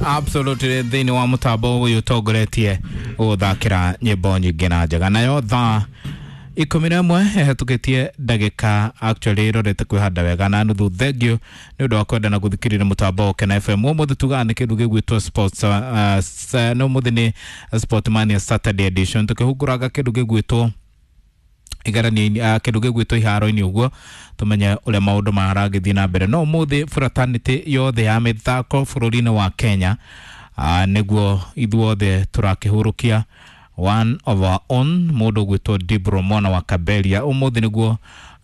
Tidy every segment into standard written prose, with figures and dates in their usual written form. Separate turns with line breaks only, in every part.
Absolutely, thĩinĩ wa mũtambo ũyũ ũtongoretie gũthakĩra nyĩmbo nyingĩ na njega. Nayo thaa 11 ĩhetũkĩtie ndagĩka, actually ĩrorete kwĩhanda wega na nuthu. Thank you nĩ ũndũ wa kwenda na gũthikĩrĩria mũtambo wa Ũkena FM. Ũmũthĩ tugaga nĩ kĩndũ gĩgwĩtwo sports, nĩ ũmũthĩ nĩ Sport Mania Saturday edition, tũkĩhungũranga kĩndũ gĩgwĩtwo igeranio, kĩndũ gĩgwĩtwo iharo-inĩ, ũguo tũmenye ũrĩa maũndũ maragĩthiĩ na mbere. No ũmũthĩ fraternity yothe ya mĩthako bũrũri-inĩ wa Kenya, nĩguo ithuothe tũrakĩhurũkia one of our own, mũndũ ũgwĩtwo Dibro mwana wa Kaberia. Ũmũthĩ nĩguo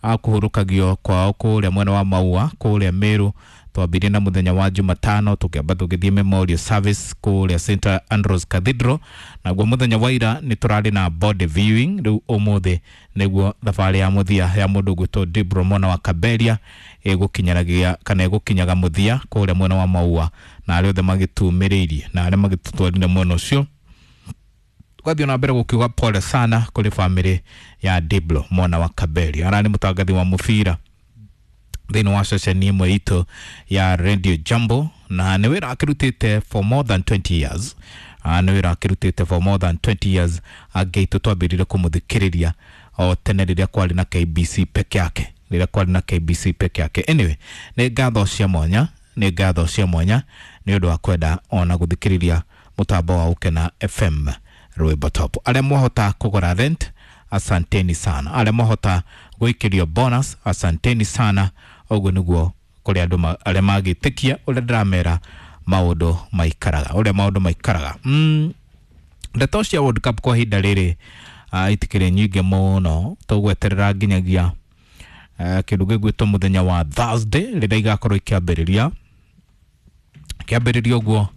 akũhurũkagio kwao kũrĩa mwena wa Maua, kũrĩa Meru. Twambirie na mũthenya wa Jumatano, tũkĩamba tũgĩthiĩ memorial service kũrĩa St Andrews Cathedral. Naguo mũthenya wa ira nĩ tũrarĩ na body viewing. Rĩu ũmũthĩ nĩguo thabarĩ ya mũthia ya mũndũ ũgwĩtwo Dibro mwana wa Kaberia ĩgũkinyanagia kana ĩgũkinyaga mũthia kũrĩa mwena wa Maua, na arĩa othe magĩtumĩrĩirie na arĩa magĩtũtwarire mwena ũcio, tũgathiĩ na mbere gũkiuga pole sana kũrĩ famĩlĩ ya Diblo mwana wa Kaberia. Ararĩ mũtangathi wa mũbira thĩinĩ wa ceceni ĩmwe itũ ya Radio Jambo, na nĩ wĩra akĩrutĩte for more than 20 years. Nĩ wĩra akĩrutĩte for more than 20 years. Angĩ aitũ twambĩrĩire kũmũthikĩrĩria o tene rĩrĩa kwarĩ na KBC peke yake, rĩrĩa kwarĩ na KBC peke yake. Anyway, nĩ ngatho cia mwanya, nĩ ngatho cia mwanya nĩ ũndũ wa kwenda ona gũthikĩrĩria mũtambo wa Ũkena FM, rwĩmbo top. Arĩa mwahota kũgũra rent, asanteni sana. Arĩa mwahota gũikĩrio bonus, asanteni sana. Ũguo nĩguo kũrĩ andũ arĩa magĩtĩkia ũrĩa ndĩramera maũndũ maikaraga, ũrĩa maũndũ maikaraga. Ndeto cia World Cup kwa ihinda rĩrĩ itikĩrĩ nyingĩ mũno. Tũgweterera nginyagia kĩndũ gĩgwĩtwo mũthenya wa Thursday, rĩrĩa igakorwo ikĩambĩrĩria kĩambĩrĩria ũguo,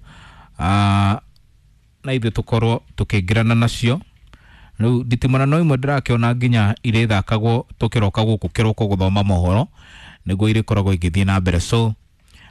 na ithuĩ tũkorwo tũkĩingĩrana nacio. Rĩu nditimũrano imwe ndĩrakĩona nginya irĩthakagwo tũkĩroka gũkũ kĩroko gũthoma mohoro, nĩguo irĩkoragwo igĩthiĩ na mbere. So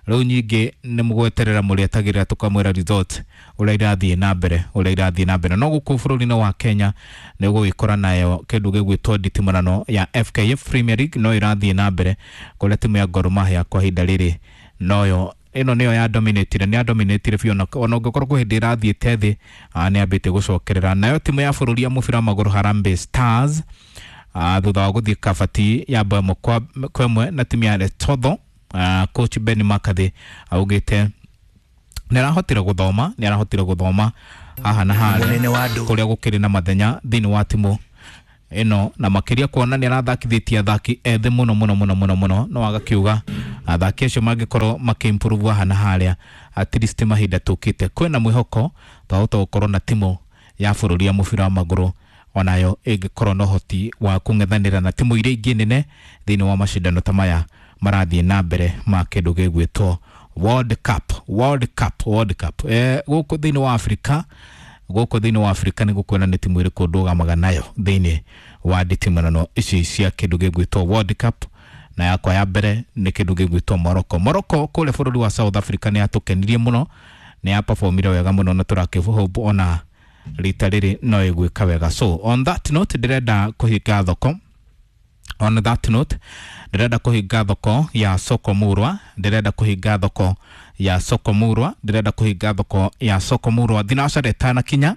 rĩu nyingĩ nĩ mũgweterera, mũrĩetagĩrĩra tũkamwĩra result ũrĩa irathiĩ na mbere, ũrĩa irathiĩ na mbere. No gũkũ bũrũri-inĩ wa Kenya nĩ ũgũgĩkora nayo kĩndũ gĩgwĩtwo nditimũrano ya FKF Premier League no ĩrathiĩ na mbere, kũrĩa timu ya Gor Mahia kwa ihinda rĩrĩ noyo ĩno nĩyo ya dominatire, nĩ ya dominatire biũ. Ona ũngĩkorwo kwĩ hĩndĩ ĩrathiĩte thĩ, nĩ yambĩtie gũcokerera. Nayo timu ya bũrũri ya mũbira wa magũrũ Harambee Stars, thutha wa gũthiĩ kabati ya bao 1-1 na timu ya Lesotho, coach Ben McCarthy augĩte nĩ arahotire gũthoma, nĩ arahotire gũthoma haha na harĩa
Mũnene wa andũ.
kũrĩa gũkĩrĩ na mathenya thĩinĩ wa timu ĩno, na makĩria kuona nĩ arathakithĩtie athaki ethĩ mũno mũno mũno mũno mũno. No agakiuga athaki acio mangĩkorwo makĩimprove haha na harĩa, at least mahinda tũkĩte kwĩna mwĩhoko twahota gũkorwo na timu ya bũrũri ya mũbira wa magũrũ onayo ĩngĩkorwo na ũhoti wa kũng'ethanĩra na timu iria ingĩ nene thĩinĩ wa macindano ta maya marathiĩ na mbere ma kĩndũ gĩgwĩtwo World Cup, World Cup, World Cup. Gũkũ thĩinĩ wa Afrika, gũkũ thĩinĩ wa Afrika nĩ gũkuona nĩ timu ĩrĩkũ ndũgamaga nayo thĩinĩ wa nditimũrano ici cia kĩndũ gĩgwĩtwo World Cup. Na yakwa ya mbere nĩ kĩndũ gĩgwĩtwo Morocco. Morocco kũrĩa bũrũri wa South Africa nĩ yatũkenirie mũno, nĩ yaperformire wega mũno, na tũrakĩ ona rita rĩrĩ no ĩgwĩka wega. So on that note, ndĩrenda kũhinga thoko. On that note, ndĩrenda kũhinga thoko ya soko murwa, ndĩrenda kũhinga thoko ya soko murwa, ndĩrenda kũhinga thoko ya soko murwa thinacara ĩtanakinya,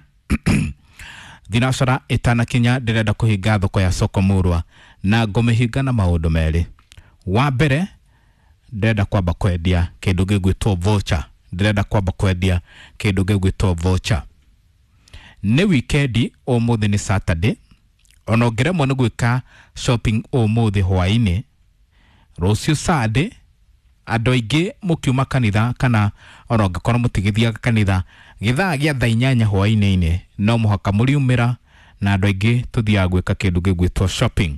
thinacara ĩtanakinya. Ndĩrenda kũhinga thoko ya soko murwa na ngũmĩhinga na maũndũ merĩ. Wa mbere, ndĩrenda kwamba kwendia kĩndũ gĩgwĩtwo voucher, ndĩrenda kwamba kwendia kĩndũ gĩgwĩtwo voucher. Nĩ wikendi, ũmũthĩ nĩ Saturday. Ona ũngĩremwo nĩ gwĩka shopping ũmũthĩ hwaĩ-inĩ, rũciũ Sunday andũ aingĩ mũkiuma kanitha, kana ona ũngĩkorwo mũtigĩthiaga kanitha, gĩthaa gĩa thaa 8 hwaĩ-inĩ no mũhaka mũriumĩra, na andũ aingĩ tũthiaga gwĩka kĩndũ gĩgwĩtwo shopping.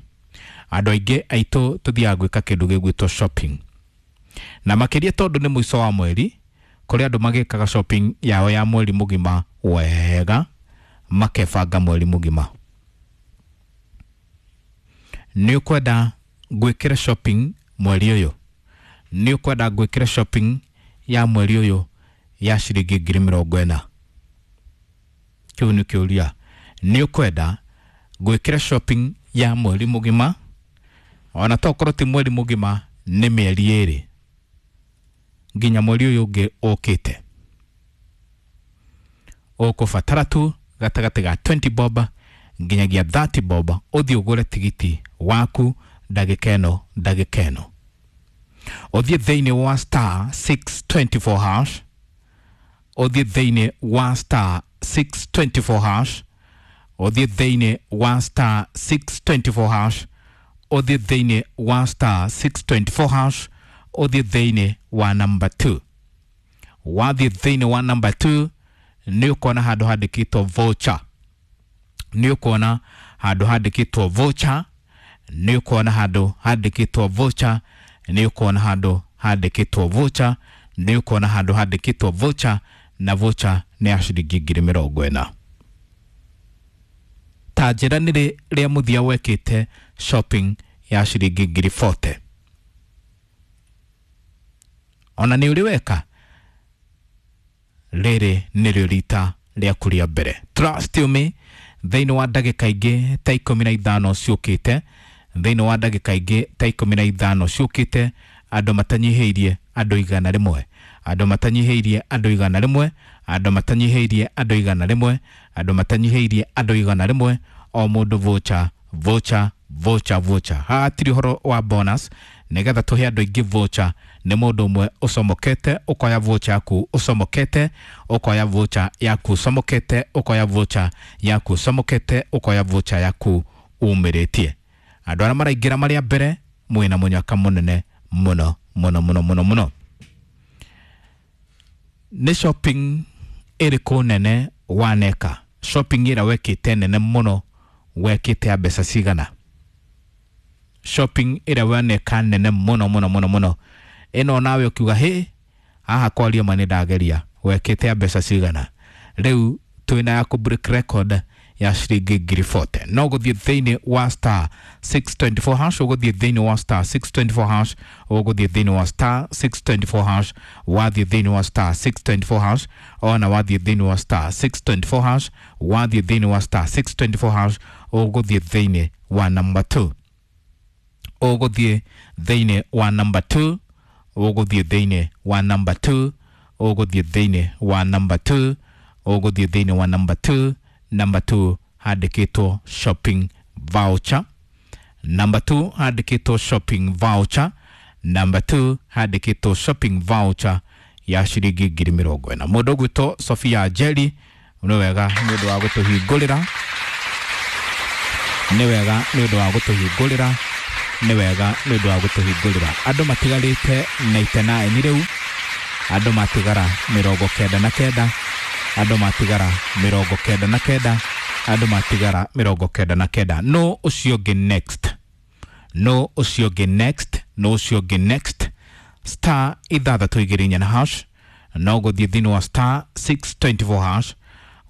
Andũ aingĩ aitũ tũthiaga gwĩka kĩndũ gĩgwĩtwo shopping, na makĩria tondũ nĩ mũico wa mweri, kũrĩ andũ magĩkaga shopping yao ya mweri mũgima wega, makebanga mweri mũgima. Nĩ ũkwenda gwĩkĩra shopping mweri ũyũ? Nĩ ũkwenda gwĩkĩra shopping ya mweri ũyũ ya ciringi 40,000? Kĩu nĩ kĩũria. Nĩ ũkwenda gwĩkĩra shopping ya mweri mũgima? Ona tokorwo ti mweri mũgima, nĩ mĩeri 2 nginya mweri ũyũ ũngĩ ũkĩte. Ũkũbatara tu gatagatĩ ga 20 bob nginyagia 30 bob ũthiĩ ũgũre tigiti waku ndagĩka ĩno ndagĩka ĩno. Ũthiĩ thĩinĩ wa star 624 hash, ũthiĩ thĩinĩ wa star 624 hash, ũthiĩ thĩinĩ wa star 624 hash, ũthiĩ thĩinĩ wa star 624 hash, ũthiĩ thĩinĩ wa number 2. Wathiĩ thĩinĩ wa number 2 nĩ ũkuona handũ handĩkĩtwo voucher, nĩ ũkuona handũ handĩkĩtwo voucher, nĩ ũkuona handũ handĩkĩtwo voucher, nĩ ũkuona handũ handĩkĩtwo voucher, nĩ ũkuona handũ handĩkĩtwo voucher, na voucher nĩ ya ciringi 40,000. Ta njĩra nĩ rĩ rĩa mũthia wekĩte shopping ya ciringi 40,000? Ona nĩ ũrĩ weka, rĩrĩ nĩrĩo rita rĩaku rĩa mbere. Trust you me, thĩinĩ wa ndagĩka ingĩ ta 15 ciũkĩte, thĩinĩ wa ndagĩka ingĩ ta 15 ciũkĩte, andũ matanyihĩirie andũ 100, andũ matanyihĩirie andũ 100, andũ matanyihĩirie andũ 100, andũ matanyihĩirie andũ 100, o mũndũ voucher, voucher, voucher, voucher. Haha hatirĩ ũhoro wa bonus, nĩgetha tũhe andũ aingĩ voucher nĩ mũndũ ũmwe ũcomokete ũkoya voucher yaku ũcomokete, ũkoya voucher yaku ũcomokete, ũkoya voucher yaku ũcomokete, ũkoya voucher yaku umĩrĩtie. Andũ arĩa maraingĩra marĩa mbere mwĩna mũnyaka mũnene mũno mũno mũno mũno mũno. Nĩ shopping ĩrĩkũ nene waneka? Shopping ĩrĩa wekĩte nene mũno wekĩte ya mbeca cigana? Shopping ĩrĩa waneka nene mũno mũno mũno mũno ĩno nawe ũkiuga hĩ haha kwaria ma nĩ ndageria, wekĩte ya mbeca cigana? Rĩu twĩna ya kũ break record ya ciringi 40,000. No gũthiĩ thĩinĩ wa star 624 hash, ũgũthiĩ thĩinĩ wa star 624 hash, ũgũthiĩ thĩinĩ wa star 624 hash, wathiĩ thĩinĩ wa star 624 hash, ona wathiĩ thĩinĩ wa star 624 hash, wathiĩ thĩinĩ wa star 624 hash, ũgũthiĩ thĩinĩ wa number 2, ũgũthiĩ thĩinĩ wa number 2, ũgũthiĩ thĩinĩ wa number 2, ũgũthiĩ thĩinĩ wa number 2, ũgũthiĩ thĩinĩ wa number 2. Number 2 handĩkĩtwo shopping voucher, number 2 handĩkĩtwo shopping voucher, number 2 handĩkĩtwo shopping voucher ya ciringi 40,000. Mũndũ ũgwĩtwo Sofia Njeri, nĩ wega nĩ ũndũ wa gũtũhingũrĩra, nĩ wega nĩ ũndũ wa gũtũhingũrĩra, nĩ wega nĩ ũndũ wa gũtũhingũrĩra. Andũ matigarĩte 99 rĩu, andũ matigara 99, andũ matigara 99, andũ matigara 99. No ũcio ũngĩ next, no ũcio ũngĩ next, no ũcio ũngĩ next. Star 624 hash, no gũthiĩ thĩinĩ wa star 624 hash,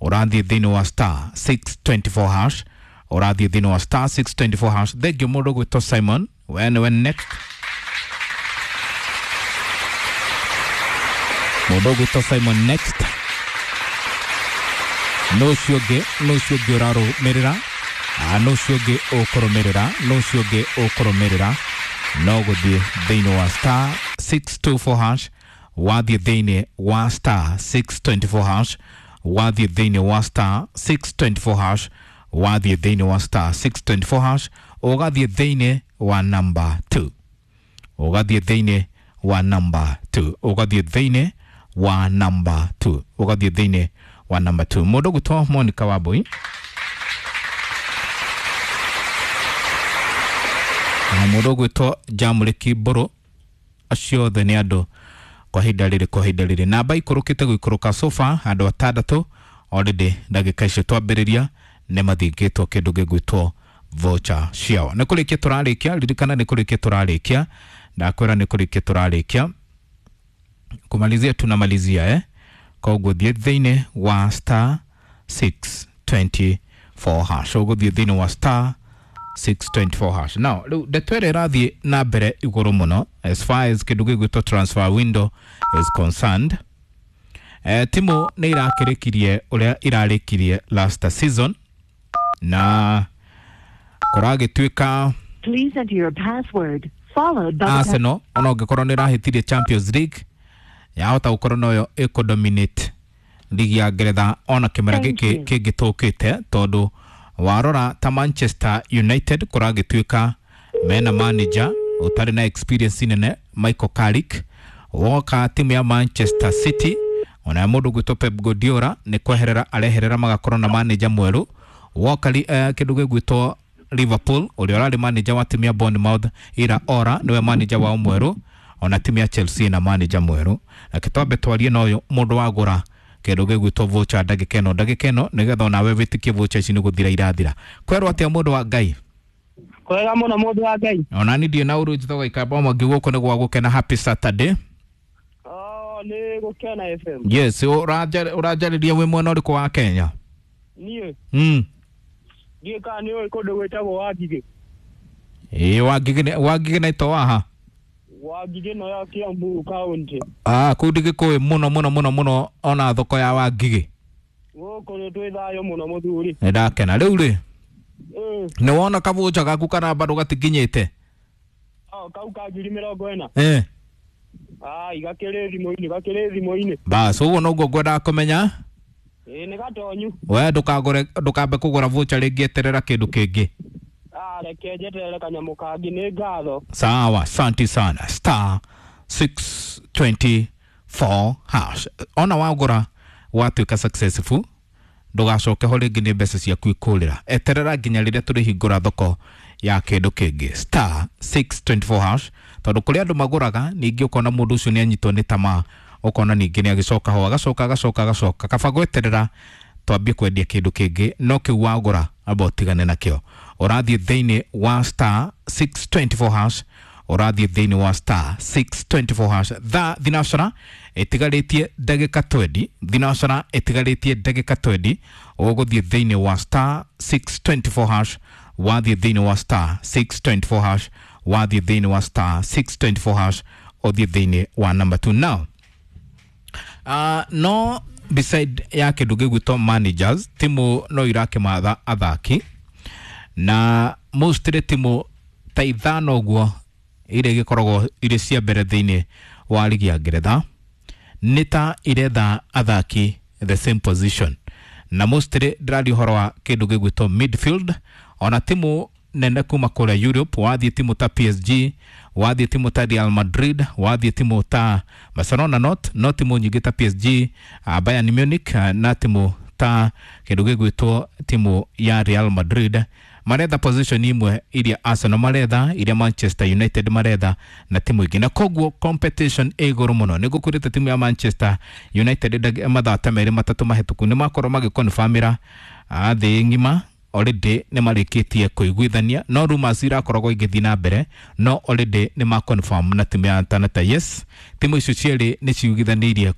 ũrathiĩ thĩinĩ wa star 624 hash, ũrathiĩ thĩinĩ wa star 624 hash. Thengiũ mũndũ ũgwĩtwo Simon, we nĩwe next. Mũndũ ũgwĩtwo Simon next. No ũcio ũngĩ, no ũcio ũngĩ ũrarũmĩrĩra, no ũcio ũngĩ ũkũrũmĩrĩra, no ũcio ũngĩ ũkũrũmĩrĩra. No gũthiĩ thĩinĩ wa star 624 hash, wathiĩ thĩinĩ wa star 624 hash, wathiĩ thĩinĩ wa star 624 hash, wathiĩ thĩinĩ wa star 624 hash, ũgathiĩ thĩinĩ wa number 2, ũgathiĩ thĩinĩ wa number 2, ũgathiĩ thĩinĩ wa number 2, ũgathiĩ thĩinĩ wa number 2. Mũndũ ũgwĩtwo Monica Wambui na mũndũ ũgwĩtwo Jamũrĩki Mbũrũ, acio othe nĩ andũ kwa ihinda rĩrĩ, kwa ihinda rĩrĩ namba ikũrũkĩte gũikũrũka sofa andũ atandatũ already ndagĩka icio twambĩrĩria nĩ mathingĩtwo kĩndũ gĩgwĩtwo voucher ciao. Nĩ kũrĩkia tũrarĩkia, ririkana nĩ kũrĩkia tũrarĩkia, ndakwĩra nĩ kũrĩkia tũrarĩkia, kumalizia tunamalizia koguo thiĩ thĩinĩ wa star 624 hash, ũgũthiĩ thĩinĩ wa star 624 hash. Now rĩu ndeto ĩrĩa ĩrathiĩ na mbere igũrũ mũno as far as kĩndũ gĩgwĩtwo transfer window is concerned, timu nĩ irakĩrĩkirie ũrĩa irarĩkirie last season, na kũragĩtuĩka
Please enter your password followed by the
Arsenal ona ũngĩkorwo nĩ ĩrahĩtirie Champions League yahota gũkorwo noyo ĩkũdominate ligi ya Ngeretha ona kĩmera
Thank
gĩkĩ
you.
kĩngĩ tũkĩte tondũ warora ta Manchester United kũragĩtuĩka mena manager ũtarĩ na experience nene Michael Carrick. Woka timu ya Manchester City ona mũndũ gwĩtwo Pep Guardiola nĩ kweherera areherera magakorwo na manager mwerũ. Woka kĩndũ gĩgwĩtwo Liverpool ũrĩa ũrarĩ manager wa timu ya Bournemouth Ira Ora nĩwe manager wao mwerũ. Ona timu ya Chelsea na manager mwerũ. Reke twambe twarie na ũyũ mũndũ wagũra kĩndũ gĩgwĩtwo voucher ndagĩka ĩno nĩgetha onawe wĩtĩkie voucher ici nĩ gũthira irathira. Kwerwo atĩa mũndũ wa Ngai?
Kwega mũno mũndũ wa Ngai.
Ona ni ndiĩ na ũru njĩtagwo Ikamba Mwangi gũkũ nĩ gwa gũkena. Happy Saturday.
Oh, nĩ Gũkena FM.
Yes, ũranjarĩria wĩ mwena ũrĩkũ wa Kenya?
Niĩ ndiĩ kana nĩ ũĩ kũndũ gwĩtagwo Wangigĩ.
Ĩĩ, Wangigĩ na ito waha.
Wangigĩ no ya Kiambu County.
Ah, kũu ndigĩkũĩ mũno mũno mũno mũno ona thoko ya Wangigĩ.
Gũkũ nĩ twĩ thayũ mũno mũthuri.
Nĩ ndakena rĩu rĩ.
Ĩĩ.
Nĩ wona kabũca gaku kana bado gatikinyĩte?
Oh, kau ka 40,000.
Eh.
Ai, gakĩrĩ thimũ-inĩ, gakĩrĩ thimũ-inĩ.
Bas, ũguo noguo ngwendaga kũmenya.
Ĩĩ, nĩ gatonyu.
We ndũkagũre, ndũkambe kũgũra voucher rĩngĩ, eterera kĩndũ kĩngĩ.
Ah, reke njeterere kanyamũ kangĩ, nĩ ngatho.
Sawa, asante sana. Star 624 hash. Ona wagũra watuĩka successful, ndũgacoke ho rĩngĩ nĩ mbeca ciaku ikũrĩra. Eterera nginya rĩrĩa tũrĩhingũra thoko ya kĩndũ kĩngĩ. Star 624 hash. Tondũ kũrĩ andũ magũraga ningĩ ũkona mũndũ ũcio nĩ anyitwo nĩ tamaa, ũkona ningĩ nĩ agĩcoka ho agacoka agacoka agacoka. Kaba gweterera twambie kwendia kĩndũ kĩngĩ, no kĩu wagũra amba ũtigane nakĩo. Ũrathiĩ thĩinĩ wa star 624 hash, ũrathiĩ thĩinĩ wa star 624 hash. Thaa thinacara ĩtigarĩtie ndagĩka 20, thinacara ĩtigarĩtie ndagĩka 20, ũgũthiĩ thĩinĩ wa star 624 hash, wathiĩ thĩinĩ wa star 624 hash, wathiĩ thĩinĩ wa star 624 hash, ũthiĩ thĩinĩ wa number 2 now. No beside ya kĩndũ gĩgwĩtwo managers, timu no irakĩmatha athaki na mostly timu ta ithano ũguo iria igĩkoragwo irĩ cia mbere thĩinĩ wa ligi ya Ngeretha nĩ ta iretha athaki the same position, na mostly ndĩraria ũhoro wa kĩndũ gĩgwĩtwo midfield. Ona timu nene kuma kũrĩa Europe, wathiĩ timu ta PSG, wathiĩ timu ta Real Madrid, wathiĩ timu ta Barcelona, not no timu nyingĩ ta PSG, Bayern Munich, na timu ta kĩndũ gĩgwĩtwo timu ya Real Madrid maretha position imwe iria Arsenal maretha, iria Manchester United maretha na timu ingĩ, na koguo competition ĩ igũrũ mũno. Nĩ gũkwĩrĩte timu ya Manchester United mathaa ta merĩ matatũ mahĩtũku nĩ makorwo magĩkonfamĩra thĩ ng'ima already nĩ marĩkĩtie kũiguithania, no rumors irakoragwo igĩthiĩ na mbere, no already nĩ ma confirm na timu ya Atalanta. Yes, timu icio cierĩ nĩ ciiguithanĩirie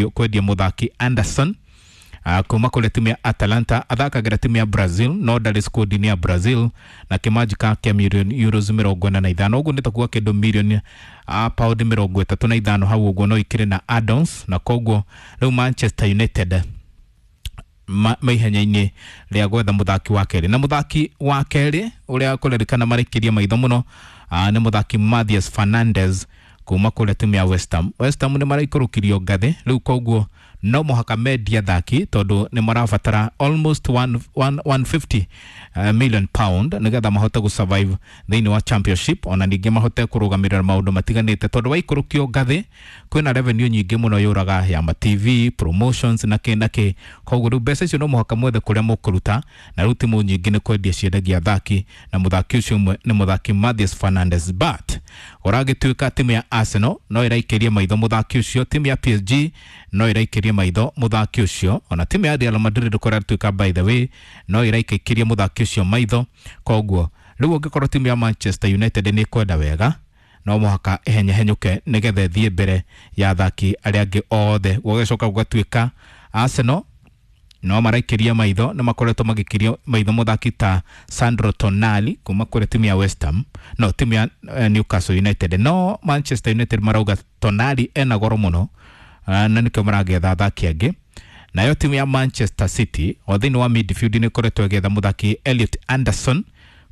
kwendia mũthaki Anderson kuma kũrĩ timu ya Atalanta. Athakagĩra timu ya Brazil no ndarĩ squad-inĩ ya Brazil, na kĩmanjĩka kĩa mirioni euros 45, ũguo nĩ ta kuga kĩndũ mirioni pound 35 hau ũguo, no ikĩrĩ na add-ons, na koguo rĩu Manchester United maihenya-inĩ rĩa gwetha mũthaki wa kerĩ, na mũthaki wa kerĩ ũrĩa kũrerĩkana marĩkĩrie maitho mũno nĩ mũthaki Mathias Fernandes kuma kũrĩa timu ya West Ham. West Ham nĩ maraikũrũkirio ngathĩ rĩu, koguo no mũhaka mendie athaki tondũ nĩ marabatara almost 150 million pound nĩgetha mahote gũ survive thĩinĩ wa championship, ona ningĩ mahote kũrũgamĩrĩra maũndũ matiganĩte tondũ waikũrũkio ngathĩ kwĩna revenue nyingĩ mũno yũraga ya ma TV promotions na kĩ na kĩ, koguo rĩu mbeca icio no mũhaka mwethe kũrĩa mũkũruta, na rĩu timu nyingĩ nĩ kwendia ciendagia athaki, na mũthaki ũcio ũmwe nĩ mũthaki Mathias Fernandes. But ũragĩtuĩka timu ya Arsenal no ĩraikĩria maitho mũthaki ũcio, timu ya PSG no ĩraikĩria maitho mũthaki ũcio, ona timu ya Real Madrid kũratuĩka by the way no ĩraikĩria mũthaki ũcio maitho. Koguo rĩu ũngĩkorwo timu ya Manchester United nĩ ĩkwenda wega, no mũhaka ĩhenyehenyũke nĩgetha ĩthiĩ mbere ya athaki arĩa angĩ othe. Gũgĩcoka gũgatuĩka Arsenal no maraikĩria maitho, nĩ makoretwo magĩkĩria maitho mũthaki ta Sandro Tonali kuma kũrĩ timu ya West Ham, no timu ya Newcastle United, no Manchester United marauga Tonali ena goro mũno, na nĩkĩo maragetha athaki angĩ. Nayo timu ya Manchester City o thĩinĩ wa midfield nĩ ĩkoretwo ĩgĩetha mũthaki Elliot Anderson,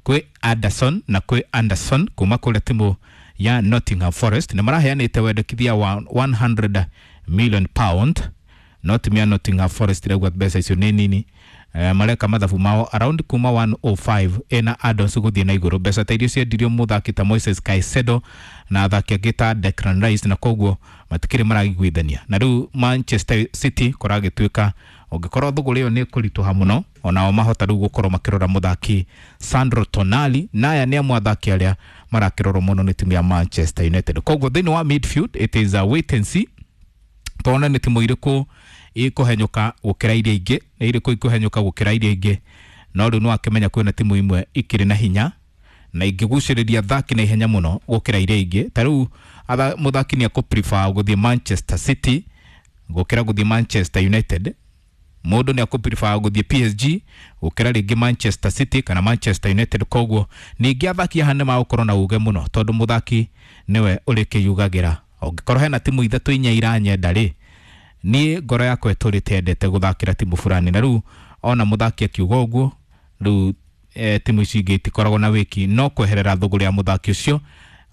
kwĩ Anderson na kwĩ Anderson kuma kũrĩa timu ya Nottingham Forest, nĩ maraheanĩte wendekithia wa 100 million pound. No timu ya Nottingham Forest ĩrauga mbeca icio nĩ nini. Mareka mathabu mao around kuma 105 ĩna add-ons gũthiĩ na igũrũ. Mbeca ta iria ciendirio mũthaki ta Moises Caicedo na athaki angĩ ta Declan Rice, na koguo matikĩrĩ maraiguithania. Na rĩu Manchester City kũragĩtuĩka ũngĩkorwo thũgũrĩ ĩyo nĩ ĩkũritũha mũno, onao mahota rĩu gũkorwo makĩrora mũthaki Sandro Tonali, na aya nĩ amwe athaki arĩa marakĩrorwo mũno nĩ timu ya Manchester United. Koguo thĩinĩ wa midfield it is a wait and see, tuone nĩ timu irĩkũ ikũhenyũka gũkĩra iria ingĩ, nĩ irĩkũ ikũhenyũka gũkĩra iria ingĩ. No rĩu nĩwakĩmenya kwĩna timu imwe ikĩrĩ na hinya na ingĩgucĩrĩria athaki na ihenya mũno gũkĩra iria ingĩ. Ta rĩu mũthaki nĩ akũ-prefer gũthiĩ Manchester City gũkĩra gũthiĩ Manchester United. Mũndũ nĩ akũ-prefer gũthiĩ PSG gũkĩra rĩngĩ Manchester City kana Manchester United. Koguo ningĩ athaki haha nĩ magũkorwo na uge mũno, tondũ mũthaki nĩwe ũrĩkĩyugagĩra. Ũngĩkorwo hena timu ithatũ inya iranyenda rĩ, niĩ ngoro yakwa ĩtũrĩte endete gũthakĩra timu fulani. Na rĩu ona mũthaki akiuga ũguo, rĩu timu ici ingĩ itikoragwo na wĩki no kweherera thũgũrĩ ya mũthaki ũcio,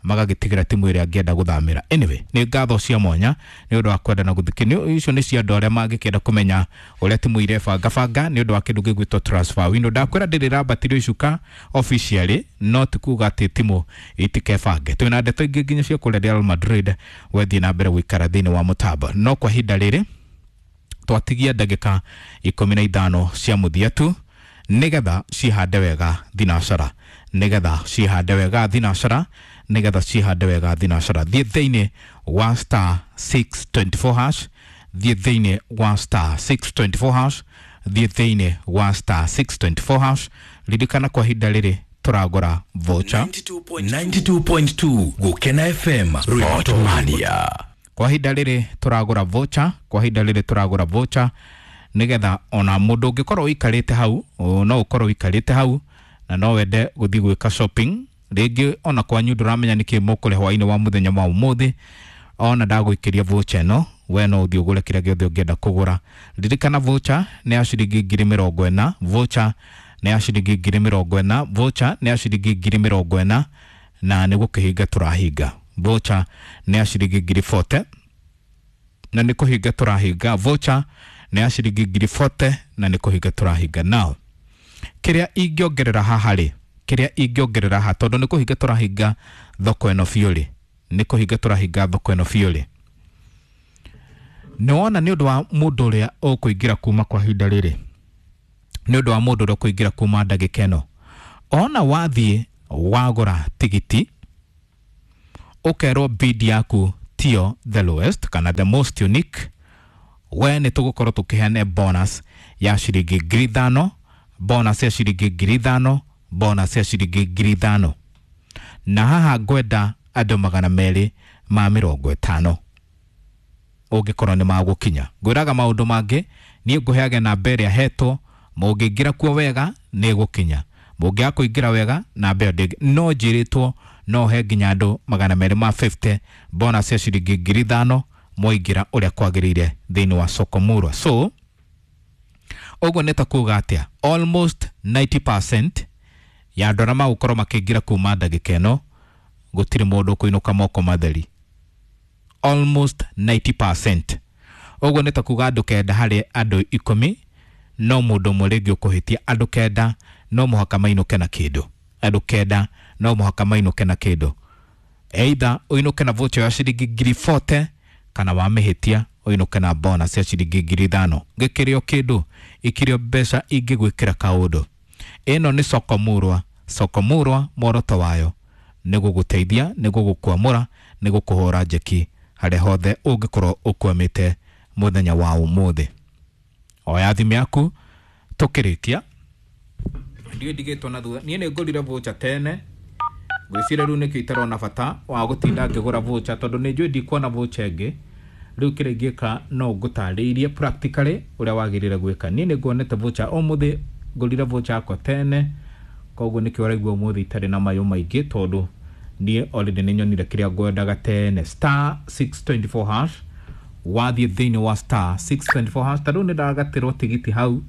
magagĩtigĩra timu ĩrĩa angĩenda gũthamĩra. Anyway, nĩ ngatho cia mwanya nĩ ũndũ wa kwenda na gũthikĩrĩria. Icio nĩ cia andũ arĩa mangĩkĩenda kũmenya ũrĩa timu irebangabanga nĩ ũndũ wa kĩndũ gĩgwĩtwo transfer window. Ndakwĩra ndĩrĩ ĩrambatĩrio icuka officially, no ti kuga atĩ timu itikebange. Twĩna ndeto ingĩ nginya cia kũrĩa Real Madrid, wethiĩ na mbere gũikara thĩinĩ wa mũtambo. No kwa ihinda rĩrĩ twatigia ndagĩka 15 cia mũthia tu, nĩgetha cihande wega thinacara, nĩgetha cihande wega thinacara, nĩgetha cihande wega thinacara. Thiĩ thĩinĩ wa star 624 hash, thiĩ thĩinĩ wa star 624 hash, thiĩ thĩinĩ wa star 624 hash. Ririkana kwa ihinda rĩrĩ tũragũra voucher
92.2 Gukena FM Sport Mania.
Kwa ihinda rĩrĩ tũragũra voucher, kwa ihinda rĩrĩ tũragũra voucher nĩgetha ona mũndũ ũngĩkorwo ũikarĩte hau, no ũkorwo ũikarĩte hau na no wende gũthiĩ gwĩka shopping rĩngĩ, ona kwanyu ndũramenya nĩkĩ mũkũrĩa hwaĩ-inĩ wa mũthenya wa ũmũthĩ, ona ndagũikĩria voucher ĩno, we no ũthiĩ ũgũre kĩrĩa gĩothe ũngĩenda kũgũra. Ririkana voucher nĩ ya ciringi 40,000, voucher nĩ ya ciringi 40,000, voucher nĩ ya ciringi 40,000, na nĩ gũkĩhinga tũrahinga. Voucher nĩ ya ciringi 40,000 na nĩ kũhinga tũrahinga. Voucher nĩ ya ciringi 40,000 na nĩ kũhinga tũrahinga. Now kĩrĩa ingĩongerera haha rĩ, kĩrĩa ingĩongerera haha, tondũ nĩ kũhinga tũrahinga thoko ĩno biũ rĩ, nĩ kũhinga tũrahinga thoko ĩno biũ rĩ, nĩ wona nĩ ũndũ wa mũndũ ũrĩa ũkũingĩra kuma kwa ihinda rĩrĩ, nĩ ũndũ wa mũndũ ũrĩa ũkũingĩra kuma ndagĩka ĩno, ona wathiĩ wagũra tigiti ũkerwo bid yaku tiyo the lowest kana the most unique, we nĩ tũgũkorwo tũkĩheana bonus ya ciringi 5,000, bonus ya ciringi 5,000, bonus ya ciringi 5,000. Na haha ngwenda andũ 250 ũngĩkorwo nĩ magũkinya. Ngwĩraga maũndũ mangĩ, niĩ ngũheage namba ĩrĩa hetwo, mũngĩingĩra kuo wega nĩ ĩgũkinya, mũngĩaga kũingĩra wega namba ĩyo ndĩngĩ. No njĩrĩtwo no he nginya andũ 250 bonus ya ciringi 5,000 mwaingĩra ũrĩa kwagĩrĩire thĩinĩ wa soko murwa. So ũguo nĩ ta kuga atĩa, almost 90% ya andũ arĩa magũkorwo makĩingĩra kuma ndagĩka ĩno gũtirĩ mũndũ ũkũinũka moko matheri. Almost 90%. Ũguo nĩ ta kuga andũ 9 harĩ andũ 10 no mũndũ ũmwe rĩngĩ ũkũhĩtia. Andũ 9 no mũhaka mainũke na kĩndũ, andũ 9 no mũhaka mainũke na kĩndũ. Either ũinũke na voucher ya ciringi 40,000 kana wamĩhĩtia ũinũke na bonus ya ciringi 5,000. Gĩkĩrĩ o kĩndũ, ikĩrĩ o mbeca ingĩgwĩkĩra kaũndũ. Ĩno nĩ soko murwa. Soko murwa muoroto wayo nĩ gũgũteithia, nĩ gũgũkwamũra, nĩ gũkũhũra njeki harĩa hothe ũngĩkorwo ũkwamĩte mũthenya wa ũmũthĩ. Oya thimũ yaku tũkĩrĩkia. Ndiũĩ ndigĩtwo na thutha, niĩ nĩ ngũrire voucher tene, ngwĩciria rĩu nĩkĩo itarona bata wa gũtinda ngĩgũra voucher, tondũ nĩ njũĩ ndikuona voucher ĩngĩ. Rĩu kĩrĩa ingĩka no ngũtarĩirie practically ũrĩa wagĩrĩire gwĩka. Niĩ nĩ nguonete voucher ũmũthĩ, ngũrire voucher yakwa tene, koguo nĩkĩo ũraigua ũmũthĩ itarĩ na mayũ maingĩ, tondũ niĩ already nĩ nyonire kĩrĩa ngwendaga tene. Star 624 hash, wathiĩ thĩinĩ wa star 624 hash, ta rĩu nĩ ndagatĩrwo tigiti hau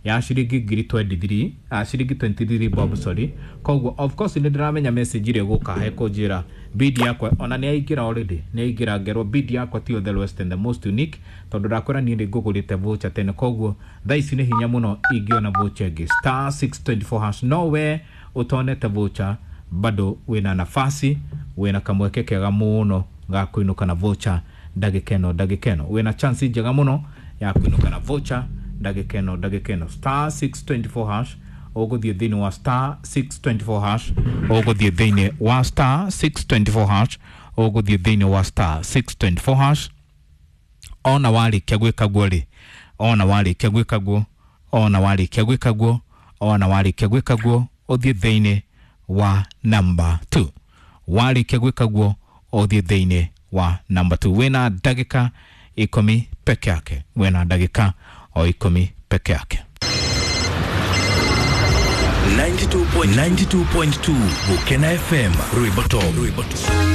Ya ciringi ngiri 23, ciringi 23 bob, sorry. Koguo of course nĩ ndĩramenya message ĩrĩa ĩgũka hekũnjĩra bid yakwa ona nĩ yaingĩra already, nĩ yaingĩra ngerwo bid yakwa tiyo the lowest and the most unique, tondũ ndakwĩra niĩ nĩ ngũgũrĩte voucher tene. Koguo thaa ici nĩ hinya mũno ingĩona voucher ĩngĩ. *624#. No we ũtonete voucher, bado wĩna nafasi, wĩna kamweke kega mũno ga kũinũka na voucher ndagĩka ĩno. Ndagĩka ĩno wĩna chance njega mũno ya kũinũka na voucher ndagĩka ĩno. Ndagĩka ĩno *624# ũgũthiĩ thĩinĩ wa *624#, ũgũthiĩ thĩinĩ wa *624#, ũgũthiĩ thĩinĩ wa *624#. Ona warĩkia gwĩka guo rĩ, ona warĩkia gwĩka guo, ona warĩkia gwĩka guo, ona warĩkia gwĩka guo, ũthiĩ thĩinĩ wa number 2. Warĩkia gwĩka guo, ũthiĩ thĩinĩ wa number 2. Wĩna ndagĩka 10 peke yake, wĩna ndagĩka o 10 peke yake.
92.2 Gukena FM, Rwimbo Top. Rwimbo Top.